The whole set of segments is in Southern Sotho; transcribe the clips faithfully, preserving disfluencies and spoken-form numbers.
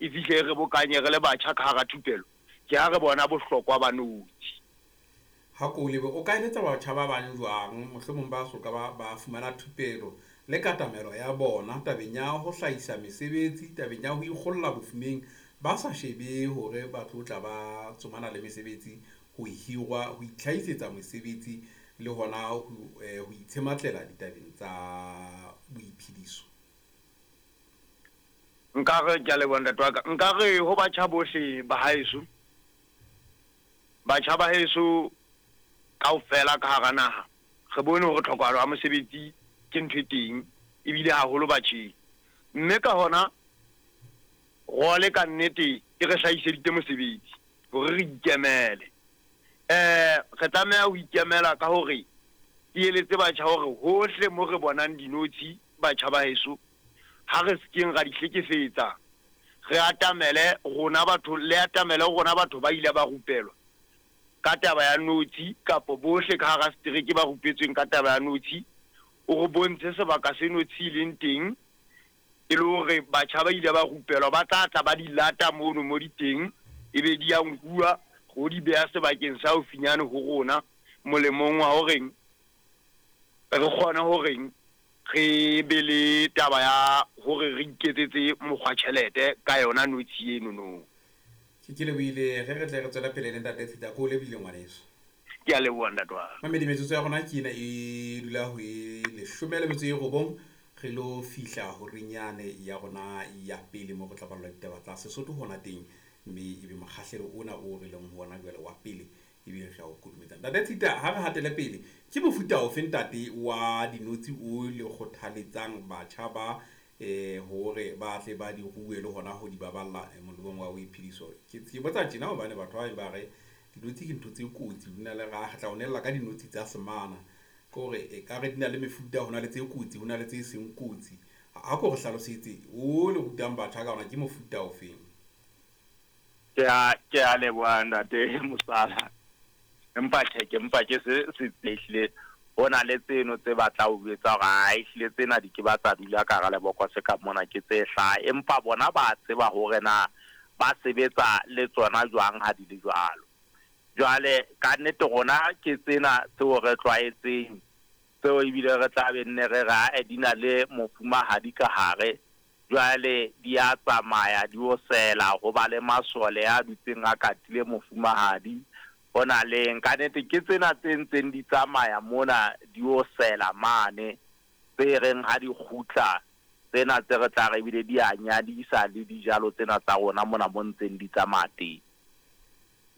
e fihle e re bokanye re le batjha ka hara thupelo, ke ha re bona bohlokwa ba notshi. Ha ko lebe o ka eletsa batjha ba bang jwang, mohlomong ba soka ba ba fumana thupelo le katamelo ya bona tabeng ya ho hlahisa mesebetsi, tabeng ya ho ikgolla bofumeng, ba sa shebe hore ba tlo tla ba tsomana le mesebetsi, ho hirwa, ho itlhahisetsa mesebetsi le hona ho eh, ho itshematlela ditabeng tsa boiphediso? Nkare ke a leboha ntate wa ka. Nkare ho batjha bohle ba haeso, batjha ba heso kaofela ka hara naha, re bone hore tlhokahalo ya mosebetsi ke ntho e teng ebile haholo batjheng. Mme ka hona role ka nnete e re hlahiseditse mosebetsi hore re ikemele. Eh re tlameha ho ikemela ka hore ke eletse batjha hore hohle mo re bonang dinotshi, batjha ba heso, ha re sekeng ra di hlekefetsa, re atamele rona batho, le atamele rona batho ba ile ba rupelwa ka taba ya notshi, kapo bohle ka hara setereke ba rupetsweng ka taba ya notshi, o re bontshe sebaka se notshi e leng teng, e le hore batjha ba ile ba rupelwa ba tla tla ba di lata mono mo di teng, ebe di ya nkuwa ho di beha sebakeng sa haufinyane ho rona, molemong wa horeng re kgone horeng re be le taba ya hore re iketsetse mokgwa tjhelete ka yona notshi eno no. Ke ke lebohile, ge re tle re tswela pele le ntate Tshita, ko o lebohile ngwaneso. Ke a leboha ntate wa ka. Mamedi, metsotso ya rona ke ena e dula ho e leshome le metso e robong, re lo fihla horeng yane ya rona ya pele mo re tla ballwa ditaba tsa Sesotho hona teng, mme ebe mokgahlelo ona o re leng ho ona jwale wa pele ebe re a o kodumetsa. Ntate Tshita, ha re hatele pele, ke mofuta ofe ntate wa dinotshi o le kgothaletsang batjha ba eh hore ba tle ba di rue le hona ho di baballa eh, molemong wa boiphediso? Ke ke botsa tjena hobane batho ba bang ba re dinotshi ke ntho tse kotsi, di na le ra tla o nella ka dinotshi tsa semana, ke hore e ka re di na le mefuta, ho na le tse kotsi, ho na le tse seng kotsi. Ha ko re hlalosetse o le rutang batjha ka ona ke mofuta ofeng? Ke a ke a leboha ntate Mosala. Empa tjhe, ke mpa ke se se ehlile ho na le tseno tse batla ho jwetsa hore ha ehlile tsena di ke ba tsa dula ka hara lebokose ka mona ke tse hlaha, empa bona ba tseba hore na ba sebetsa le tsona jwang ha di le jwalo. Jwale ka nnete rona ke tsena tseo re tlwaetseng, tseo ebile re tla be nne re re ae di na le mofumahadi ka hare. Jwale di a tsamaya di o sela, ho ba le masole a dutseng a katile mofumahadi. Ho na le ka nnete ke tsena tse ntseng di tsamaya mona di o sela mane, tse reng ha di kgutla tsena tse re tla re ebile di a nyadisa le dijalo tsena tsa rona mona mo ntseng di tsamaya teng.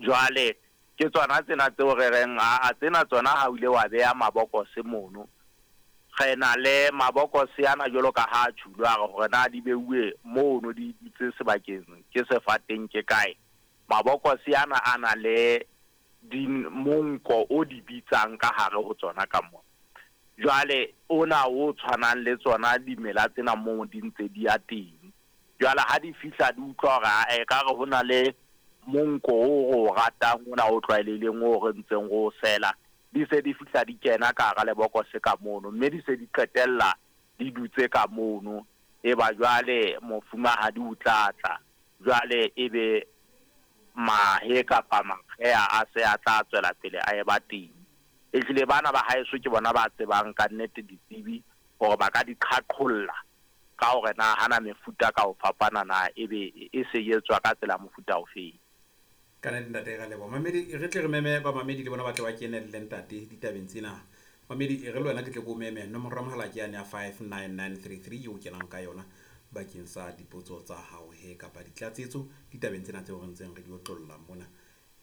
Jwale ke tsona tsena tseo re reng a tsena tsona ha o ile wa beha mabokose mono, re na le mabokose ana jwalo ka ha tjhulo a re hore na di beuwe mono di dutse sebakeng ke sefateng ke kae. Mabokose ana a na le di monko o di bitsang ka hare ho tsona ka mona. Jwale ona o tshwanang le tsona dimela tsena moo di ntse di ya teng. Jwale ha di fihla di utlwa hore ae ka re ho na le monko o re o ratang ona o tlwaelehileng o re ntseng re o sela, di se di fihla di kena ka hara lebokose ka mono, mme di se di qetella di dutse ka mono. E ba jwale mofumahadi o tla tla, jwale ebe mahe kapa makgeha a se a tla tswela pele a eba teng. Ehlile bana ba haeso ke bona ba tsebang ka nnete ditsebi hore ba ka di qhaqholla ka hore na hana mefuta ka ho fapana na ebe e se etswa ka tsela mofuta ofeng. Ka nnete ntate ra leboha. Mamedi, re tle re meme ba mamedi le bona ba tle ba kenelle ntate ditabeng tsena. Mamedi, e re le wena ke tle ko meme, nomoro ya mohala ke yane ya five nine nine three three eo kenang ka yona bakeng sa dipotso tsa hao he kapa ditlatsetso ditabeng tsena tseo re ntseng re di otlolla mona.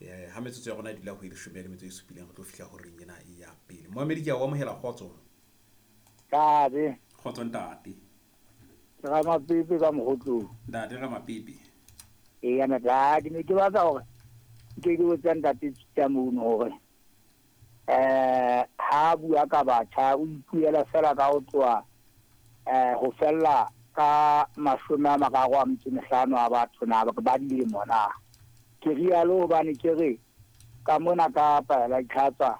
Eh, ha metsotso ya rona e dula ho e leshome le metso e supileng, re tlo fihla horeng ena ya pele. Moamedi, ke a o amohela, kgotso. Ntate. Kgotso ntate. Ke Ramapepe ka Mokgotlong. Ntate Ramapepe. Eya ntate, ne ke batla hore ke ke botsa ntate Tshita mono hore eh ha bua ka batjha o ipuela fela ka ho tloha eh ho fella ka mashome a mararo a metso e mehlano a batho na ba dilemo na. Ke rialo hobane ke re ka mona ka paela itlhatswa